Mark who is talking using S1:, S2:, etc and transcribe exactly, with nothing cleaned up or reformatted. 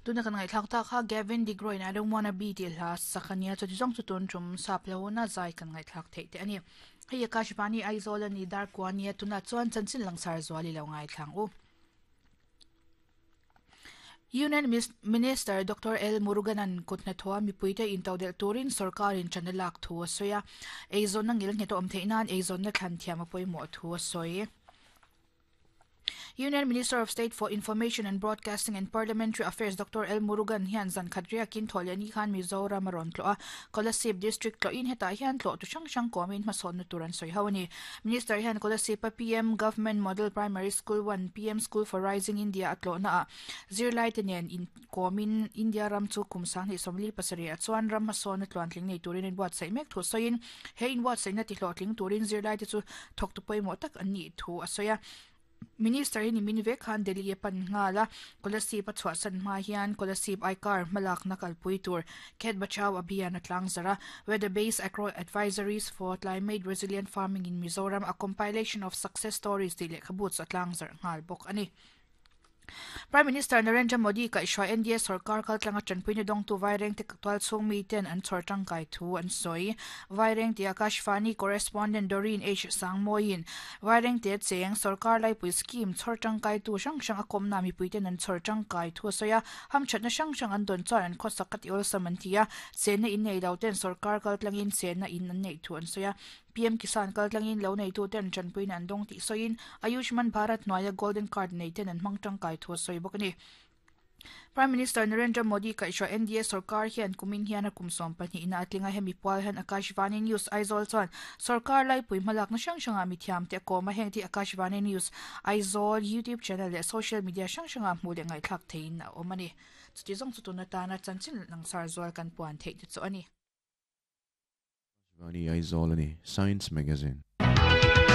S1: Tuna kan ngaihthlak tak kha Gavin DeGraw in I Don't Wanna Be tih hla sak a nia, chuti zawng chu tun tum sap lo na zai kan ngaihthlak theih te a ni. Hei Akashvani Aizawl a ni dar kua nia, tunah chuan chanchin langsar zual i lo ngaithlang u. Union Minister Doctor L Muruganan kut hnathawha mipuite intodelh turin sorkarin ṭan a lak thu a sawi a, eizawnna ngil nghet a awm theih nan eizawnna thlan thiam a pawimawh thu a sawi. Union Minister of State for Information and Broadcasting and Parliamentary Affairs Doctor L Murugan hian zan khat riakin thawh leh ni khan Mizoram a rawn tlawh a, Kolasib District tlawhin hetah hian tlawh tu hrang hrang kawmin hmasawnna tur an sawi ho a ni. Minister hian Kolasib a P M Government Model Primary School one, P M School for Rising India a tlawhna ah zirlaite nen inkawmin India ram chu kum sanghnih sawmli pasarih ah chuan ram hmasawnna tluantling nei turin an buatsaih mek thu sawiin he inbuatsaihna tihlawhtling turin zirlaite chu thawktu pawimawh tak an nih thu a sawi a. Minister hi nimin vek khan Delhi a pan nghal a, Kolasib a chhuahsan hma hian Kolasib I-Car hmalakna kalpui tur Khet Bachao Abhiyan a tlang zarh a. Weather Based Agro Advisories for Climate Resilient Farming in Mizoram, A Compilation of Success Stories tih lehkhabu chu a tlang zarh nghal bawk a ni. Prime Minister Narendra Modi kaihhruai N D A sorkar kaltlanga tanpuina dawngtu Vairengte tual chhung miten an chhawr tangkai thu an sawi. Vairengte Akashvani correspondent Doreen H Sangmawiin Vairengte cheng sorkar laipui scheme chhawr tangkaitu hrang hrang a kawmna mipuiten an chhawr tangkai thu a sawi a, hamthatna hrang hrang an dawn chuan an khawsak a ti awlsam an ti a, chenna in nei lo ten sorkar kaltlangin chenna in an neih thu an sawi a. P M Kisan kaltlangin lo neituten tanpuina an dawng tih sawiin Ayushman Bharat hnuaia Golden Card neiten an hmang tangkai thu a sawi bawk a ni. Prime Minister Narendra Modi kaihhruai N D A sorkar hian kumin hian a kum sawm pahnihna a tling a, hemi pual hian Akashvani News Aizawl chuan sorkar laipui hmalakna hrang hrangah mithiamte a kawm a, heng te Akashvani News Aizawl YouTube channel leh social media hrang hrangah hmuh leh ngaihthlak theihin a awm a ni. Chuti zawng chu tun atana chanchin langsar zual kan puan theih te chu a ni.
S2: Akashvani Aizawl a ni, Science Magazine.